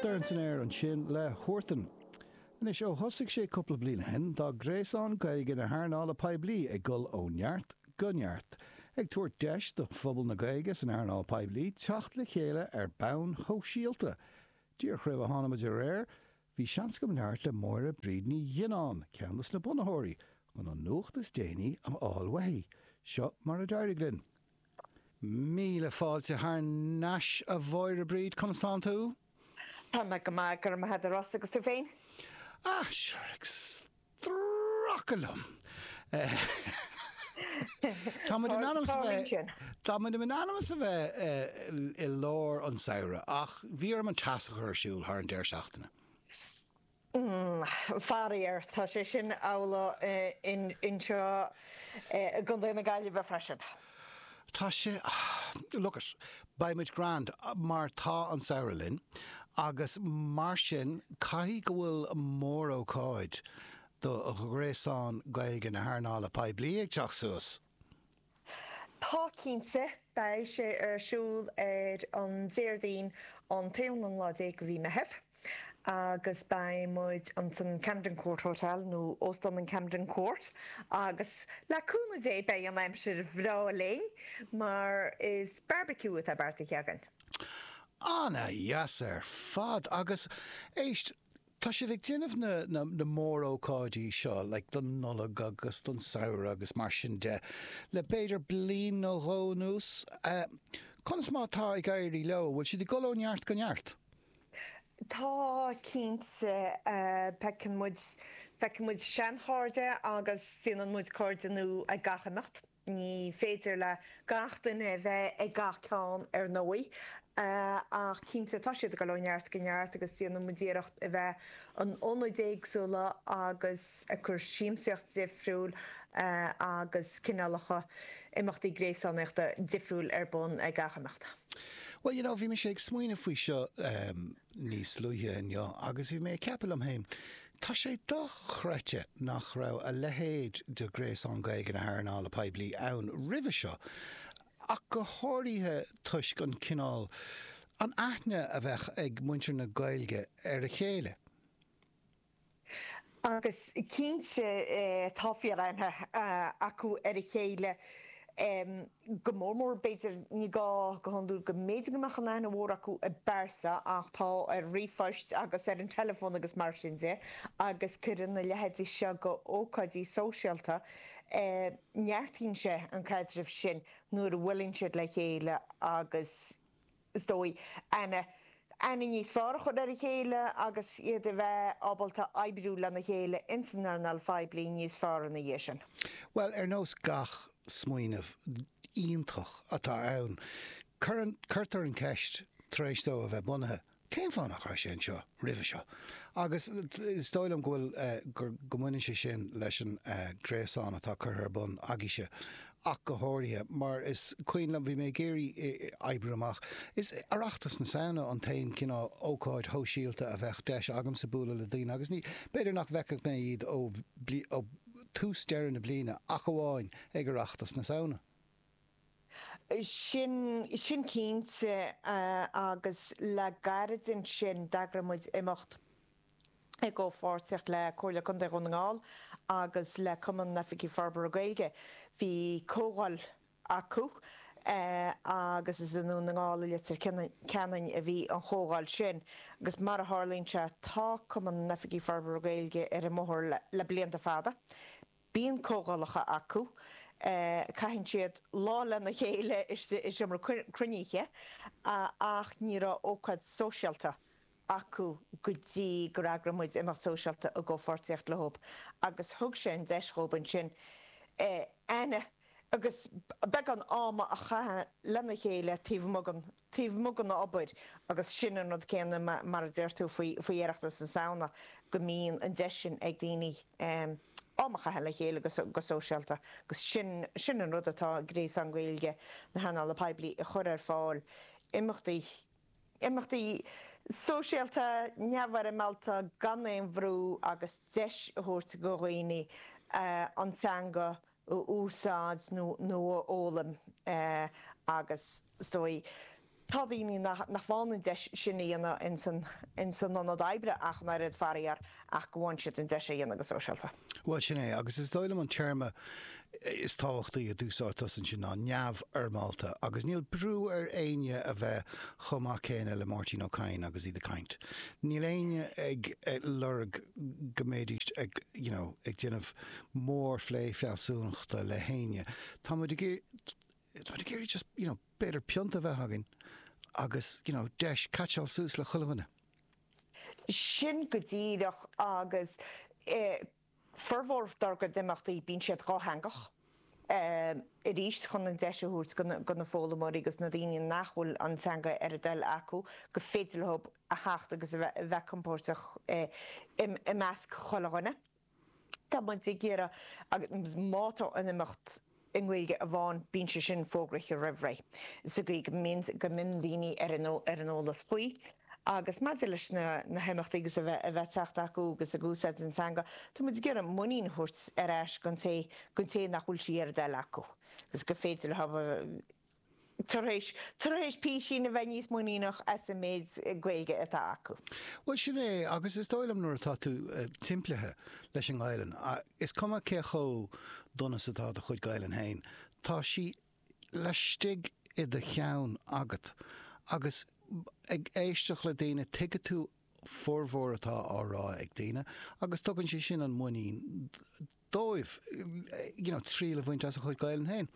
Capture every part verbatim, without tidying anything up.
Dorn san aer ansin le Huartan. Anois ó thosaigh sé cúpla bliain ó shin, tá Gréasán Gaeilge na hEarnála Poiblí ag dul ó neart go neart, ag tabhairt deis do phobal na Gaeilge san earnáil poiblí teacht le chéile ar bonn shóisialta. Díreach roimh a tháinig muid aréir, bhí seans agam labhairt le Máire Bríd Ní Ghionnáin, ceann de na bunaitheoirí, chun an nuacht is déanaí a fháil uaithi. Seo mar a d'éirigh linn. Míle fáilte thar n-ais a Mháire Bríd, conas tánn tú? Tá mé go maith, go raibh maith agat a Rossa, agus tú féin? Ah, sure, ag stracadh liom. Tá muid in ainm is a bheith Tá muid in ainm is a bheith i lár an samhradh ach bhí orm an teas a chur ar siúl thar an deireadh seachtaine. Faraor, tá sé sin amhlaidh anseo i gContae na Gaillimhe freisin. Tá sé, look it, beidh muid grand mar tá an samhradh linn agus mar sin caithfidh go bhfuil mórócáid do Ghréasán Gaeilge na hEarnála Poiblí ag teacht suas. Tá cinnte, beidh sé ar siúl ar an Déardaoin an t-aonú lá déag de mhí Meitheamh agus beidh muid ansan Camden Court Hotel nó Óstán an Camden Court agus le cúnamh Dé beidh an aimsir bhreá linn mar is barbecue atá beartaithe againn. Ana-dheas ar fad agus éist, tá sibh ag déanamh na na na mórócáidí seo like don Nollaig agus don samhradh agus mar sin de le b'fhéidir bliain nó dhó anuas. Conas mar atá ag éirí leo? Bhfuil siad ag dul ó neart go neart? Tá, cinnte. Feiceann muid, feiceann muid seanchairde agus déanann muid cairde nua ag gach imeacht. Ní féidir le gach duine a bheith ag gach ceann ar ndóigh, ach cinnte tá siad ag dul ó neart go neart agus déanann muid iarracht a bheith in ionaid éagsúla agus ag cur siamsaíocht difriúil agus cineálacha imeachtaí gréasánaíochta difriúil ar bun ag gach imeacht. Bhuel, you know, bhí mise ag smaoineamh faoi seo níos luaithe inniu agus bhí mé ag ceapadh liom féin, tá sé dochreidte nach raibh a leithéid de Ghréasán Gaeilge na hearnála poiblí ann roimhe seo, ach go háirithe toisc an cineál, an aithne a bheadh ag muintir na Gaeilge ar a chéile. Agus cinnte tá fíor-aithne acu ar a chéile, go mór mór b'fhéidir, ní gá go hiondúil go mb'fhéidir go mbeadh an aithne mhór acu i bpearsa ach tá ar ríomhphoist agus ar an teileafón agus mar sin de agus cuireann a leithéidí seo de ócáidí sóisialta, neartaíonn sé an caidreamh sin nuair a bhuaileann siad le chéile agus. is dóigh, aithne, aithne níos fearr a chur ar a chéile agus iad a bheith ábalta oibriú lena chéile ins an earnáil phoiblí níos fearr ina dhiaidh sin. Bhuel, ar nós gach smaoineamh iontach atá ann, cuireann, cuirtear an cheist tar éis dó a bheith bunaithe, cén fáth nach raibh sé anseo roimhe seo? Agus is dóigh liom go bhfuil, gur, go mbaineann sé sin leis an gréasán atá curtha ar bun agaibhse ach go háirithe, mar is cuimhin liom, bhí mé ag iarraidh oibriú amach, is Oireachtas na Samhna an t-aon cineál ócáid shóisialta a bheadh deis agamsa bualadh le daoine agus ní, b'fhéidir nach bhfeicfeadh mé iad ó, ó tús deireadh na bliana ach amháin ag Oireachtas na Samhna. Sin, sin cinnte agus le gairid ansin d'eagraigh muid imeacht i gcomhpháirtíocht le Comhairle Contae Dhún na nGall agus le Cumann na nOifigí Forbartha Gaeilge. Bhí comhdháil acu agus is i nDún na nGall i Leitir Ceanainn a bhí an chomhdháil sin agus mar a tharlaíonn sé tá Cumann na nOifigí Forbartha Gaeilge ar an mbóthar le blianta fada. Bíonn comhdhálacha acu, caitheann siad lá lena chéile istigh i seomra cruinnithe ach ní raibh ócáid sóisialta acu go dtí gur eagraigh muid imeacht sóisialta i gcomhpháirtíocht leo agus thug sé an deis dhóibh ansin aithne agus beagán ama a chaitheamh lena chéile taobh amuigh den taobh amuigh den obair agus sin an rud céanna mar a deir tú faoi faoi Oireachtas na Samhna go mbíonn an deis sin ag daoine am a chaitheamh le chéile go go sóisialta agus sin sin an rud atá Gréasán Gaeilge na hEarnála Poiblí a chur ar fáil, imeachtaí imeachtaí sóisialta neamhfhoirmeálta gan aon bhrú agus deis a thabhairt do dhaoine an teanga a úsáid nó nó a fhoghlaim agus is dóigh Tá daoine nach bhfaigheann an deis sin a dhéanamh ins an ionad oibre ach an oiread faraor ach go bhfaigheann siad an deis a dhéanamh go sóisialta. Bhuel, sin é, agus is dóigh liom an téarma is tábhachtaí a d'úsáid tusa ansin ná neamhfhoirmeálta agus níl brú ar éinne a bheith chomh maith céanna le Máirtín Ó Cadhain agus iad ag caint. Níl éinne ag lorg go mbeidís ag, you know, ag déanamh mórphlé fealsúnachta le héinne. Tá muid ag tá muid ag iarraidh just, you know, b'fhéidir pionta a bheith againn agus, you know, deis catcháil suas le chuile dhuine. Sin go díreach agus eh, formhór dár gcuid imeachtaí bíonn siad dhátheangach. Eh, arís chun an deis a thabhairt go na foghlaimeoirí agus na daoine nach bhfuil an teanga ar a dtoil acu go féidir leo a theacht agus a bheith compordach eh, i measc chuile dhuine. Tá muid ag iarraidh agus má tá an imeacht i nGaeilge amháin bíonn sé sin fógraithe roimh ré. Sa gcaoi go mbíonn go mbíonn daoine ar an ar an eolas faoi. Agus maidir leis na na himeachtaí agus a bheith a bheith teacht acu agus ag úsáid an teanga, tá muid ag iarraidh muinín a thabhairt ar ais don té don té nach bhfuil sí ar a dtoil acu. Agus go féidir leo tar éis tar éis písín a bheith níos muiníneach as an méid Gaeilge atá acu. Bhuel sin é agus is dóigh liom nuair atá tú eh, timplithe leis an nGaelainn, is cuma cé chomh dona is atá do chuid Gaelainn féin, tá sí laistigh i do cheann agat agus ag éisteacht le daoine tuigeann tú formhór atá á rá ag daoine agus tugann sé sin an muinín dóibh you know, triail a bhaint as a chuid Gaelainn féin.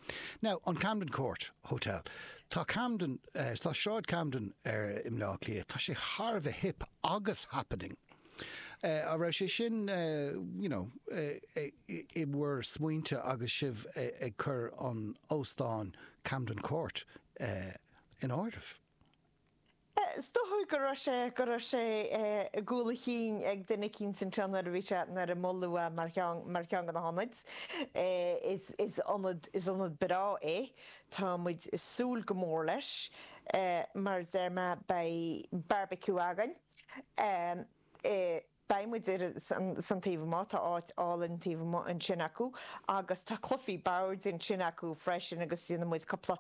Now, an Camden Court Hotel. Tá Camden uh, tá Sráid Camden ar i mBleá Cliath, tá sé thar a bheith hip agus happening. Uh, a raibh sé sin uh, you know, uh, i bhur smaointe agus sibh ag cur an óstán Camden Court uh, in áireamh. Is dóigh go raibh sé go raibh sé i gcúl a chinn ag duine éicint ansin nuair a bhí sé nuair a moladh é mar cheann mar cheann de na hionaid. Is is ionad is ionad breá é Tá muid ag súil go mór leis mar deir mé beidh barbecue againn. Beidh muid ar san taobh amuigh, tá áit álainn taobh amuigh ansin acu agus tá cluichí boird ansin acu freisin agus déanfaidh muid cúpla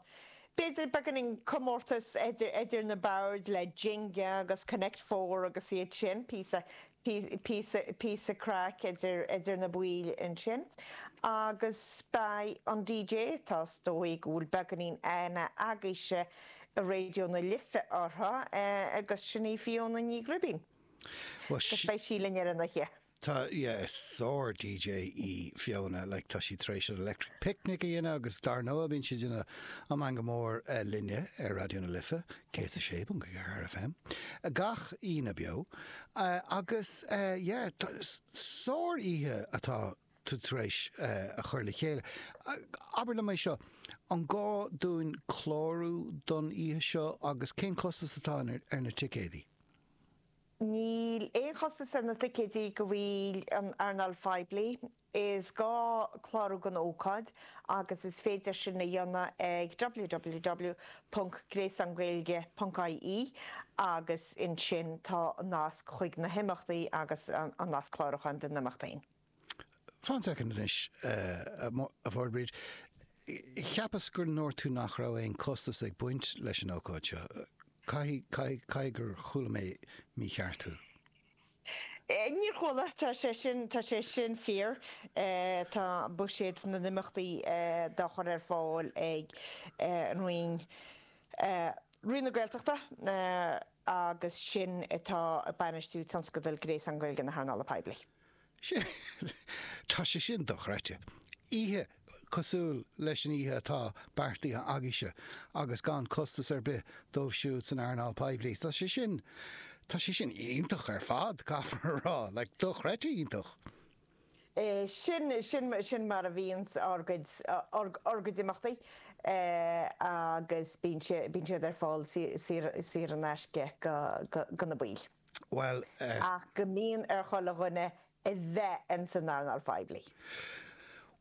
b'fhéidir beagáinín comórtas idir idir na boird le Jenga agus Connect Four agus iad sin píosa píosa píosa craic idir idir na baill ansin. Agus beidh an DJ tá is dóigh go bhfuil beagáinín aithne agaibhse i Raidió na Life uirthi agus sin í Fiona Ní Ghribín. Agus beidh sí linn ar an oíche. Tá yeah, is sár DJ í Fiona, like, tá sí tar éis an Electric Picnic a dhéanamh agus dar ndóigh bíonn sí ag déanamh an Meangadh Mór uh, linne ar Raidió na Life, céad a sé ponc ceathair FM. Gach Aoine beo uh, agus uh, yeah, sár oíche atá tú tar éis uh, a chur le chéile. Uh, abair liom é seo, an gá dúinn clárú don oíche seo agus cén costas atá ar, ar na ticéidí? Níl aon chostas ar na ticéidí go bhfuil an earnáil phoiblí. Is gá clárú don ócáid agus is féidir sin a dhéanamh ag www.gréasángaeilge.ie agus ansin tá nasc chuig na himeachtaí agus an nasc clárúcháin don imeachtaí. Fan soicind anois a Mháire Bríd. Cheapas gur ndúirt tú nach raibh aon costas ag baint leis an ócáid seo. Caithfidh gur chuala mé mícheart thú. Níor chuala tá sé sin tá sé sin fíor tá buiséad na n-imeachtaí dá chur ar fáil ag an Roinn Roinn na Gaeltachta agus sin atá ag bainistiú tionscadal Gréasán Gaeilge na hearnála poiblí. Tá sé sin dochreidte. Oíche cosúil leis an oíche atá beartaithe agaibhse agus gan costas ar bith dóibh siúd san earnáil poiblí. Tá sé sin Tá sé sin iontach ar fad caithfear a rá, le dochreidte iontach. Sin sin sin mar a bhíonn ár gcuid ár gcuid imeachtaí agus bíonn bíonn siad ar fáil saor in aisce go na baill. Well, uh, Ach go mbíonn ar chuile dhuine a bheith in san earnáil phoiblí.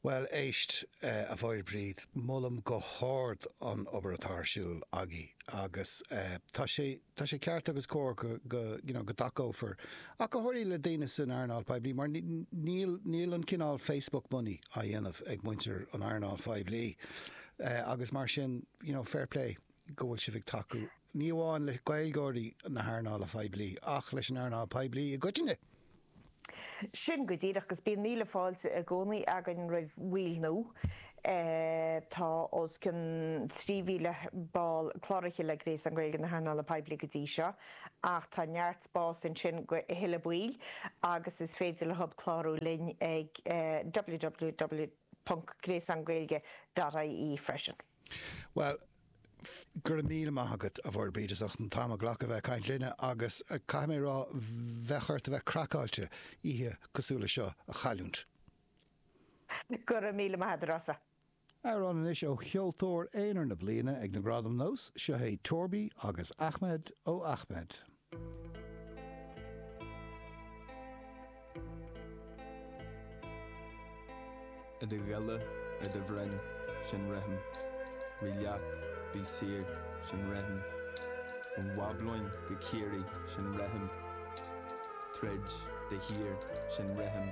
Well éist uh, a Mháire Bríd, molaim go hard an obair atá ar siúl agaibh agus uh, tá sé tá sé ceart agus cóir go, go, you know, go dtacófar ach go háirithe le daoine san earnáil poiblí mar níl níl an cineál Facebook money á dhéanamh ag muintir an earnáil phoiblí uh, agus mar sin you know, fair play go bhfuil sibh ag tacú ní amháin le Gaeilgeoirí na hearnála poiblí ach leis an earnáil poiblí i gcoitinne. Sin go díreach agus bíonn míle fáilte i gcónaí againn roimh bhaill nua. Tá os cionn trí mhíle ball cláraithe le Gréasán Gaeilge na hEarnála Poiblí go dtí seo, ach tá neart spás ansin do thuilleadh baill agus is féidir leo clárú linn ag www ponc gréasángaeilge dot ie freisin. Bhuel, go raibh míle maith agat, a Mháire Bríd, as ucht an t-am a ghlacadh a bheith ag caint linne agus caithfidh mé a rá, bheadh ort a bheith craiceáilte oíche cosúil le seo a chailliúint. Go raibh míle maith agat, a Rossa. Amhrán anois ó cheoltóir aonair na bliana ag na Gradaim Nós, seo é Torby agus Ahmed ó Ahmed. I do ghile, ar do bhroinn, sin rithim. Rith leat, bí saor, sin rithim. Ón mBablóin go Ciarraí, sin rithim. Troid, de shíor, sin rithim.